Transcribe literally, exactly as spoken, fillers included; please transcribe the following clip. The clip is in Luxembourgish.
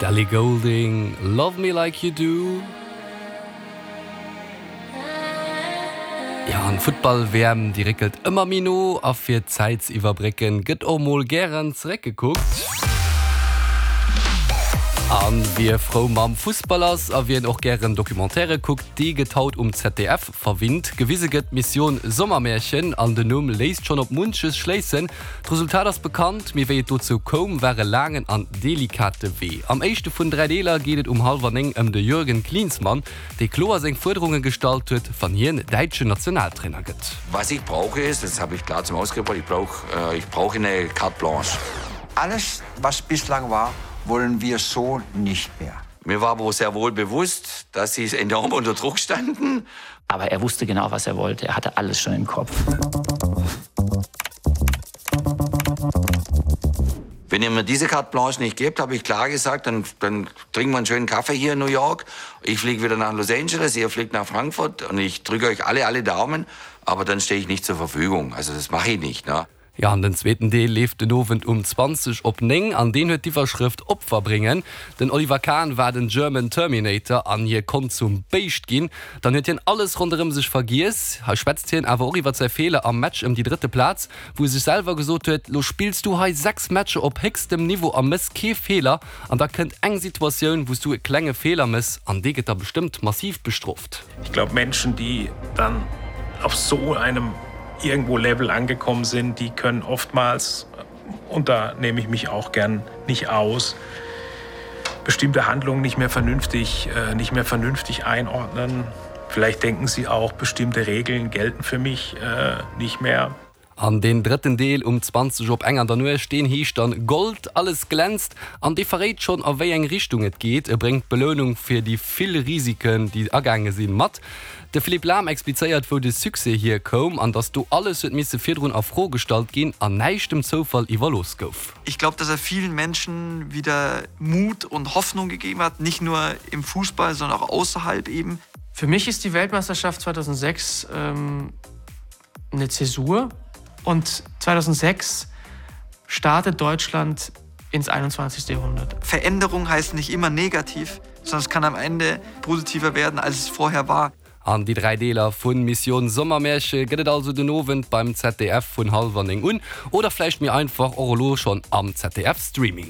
D'Ellie Goulding, Love Me Like You Do. Jo, an d'Futtball-WM, déi réckelt ëmmer méi no a fir d'Zäit ze iwwerbrécken, gëtt och mol gären zeréckgekuckt. An wie frou mam Fussball ass a wien och gären Documentairë kuckt, dee gëtt haut um ZDF verwinnt. Gewise gëtt Mission Sommermärchen an den Numm léisst schonn op munches schléissen. D'Resultat ass bekannt, mee wéi et dozou koum, war e laangen an delikate Wee. Am éischte vun dräi Deeler geet et um hallwer néng ëm de Jürgen Klinsmann, dee kloer seng Fuerderunge gestallt huet, wann hien däitschen Nationaltrainer gëtt. Was ich brauche ist, das habe ich klar zum Ausdruck gebracht, ich brauch, ich brauche eine Carte Blanche. Alles, was bislang war, wollen wir so nicht mehr. Mir war aber sehr wohl bewusst, dass sie enorm unter Druck standen. Aber er wusste genau, was er wollte. Er hatte alles schon im Kopf. Wenn ihr mir diese Carte Blanche nicht gebt, habe ich klar gesagt, dann, dann trinken wir einen schönen Kaffee hier in New York. Ich fliege wieder nach Los Angeles, ihr fliegt nach Frankfurt und ich drücke euch alle, alle Daumen, aber dann stehe ich nicht zur Verfügung. Also das mache ich nicht. Ne? Jo, an den zweeten Deel leeft den Owend um zwanzeg op néng an deen huet d'Iwwerschrëft Opfer bréngen. Den Oliver Kahn war den German Terminator an hie konnt zum Béischt ginn. Dann huet hien alles ronderëm sech vergiess. Hei schwätzt hien awer och iwwer säi Feeler am Match ëm déi drëtte Plaz, wou e sech selwer gesot huet, Lo spills du hei sechs Matcher op héchstem Niveau a mëss kee Feeler an da kënnt eng Situatioun, wou s du e klenge Feeler mëss an dee gëtt da bestëmmt massiv bestrooft. Ich glaub Menschen, die dann auf so einem irgendwo Level angekommen sind, die können oftmals und da nehme ich mich auch gern nicht aus, bestimmte Handlungen nicht mehr vernünftig, äh, nicht mehr vernünftig einordnen. Vielleicht denken sie auch, bestimmte Regeln gelten für mich äh, nicht mehr. An deen drëtten Deel um zwanzeg op eng an der Nuecht, deen heescht dann Gold, alles glänzt an dee verréit schonn a wéi eng Richtung et geet. E bréngt d'Belounung fir déi vill Risiken, déi agaange sinn, mat. De Philippe Lahm explizéiert, wou de Succès hier koum an datt do alles huet misse virdrun a Fro gestallt ginn an näischt dem Zoufall iwwerlooss gouf. Ich glaub, dass er vielen Menschen wieder Mut und Hoffnung gegeben hat, nicht nur im Fußball, sondern auch außerhalb eben. Für mich ist die Weltmeisterschaft zweitausendsechs ähm, eine Zäsur und zweitausendsechs startet Deutschland ins einundzwanzigste Jahrhundert. Veränderung heißt nicht immer negativ, sondern es kann am Ende positiver werden, als es vorher war. An déi dräi Deeler vu Mission Sommermärche gëtt et also den Owend beim Z D F vun hallwer néng un oder vläicht méi einfach och elo schonn am Z D F Streaming.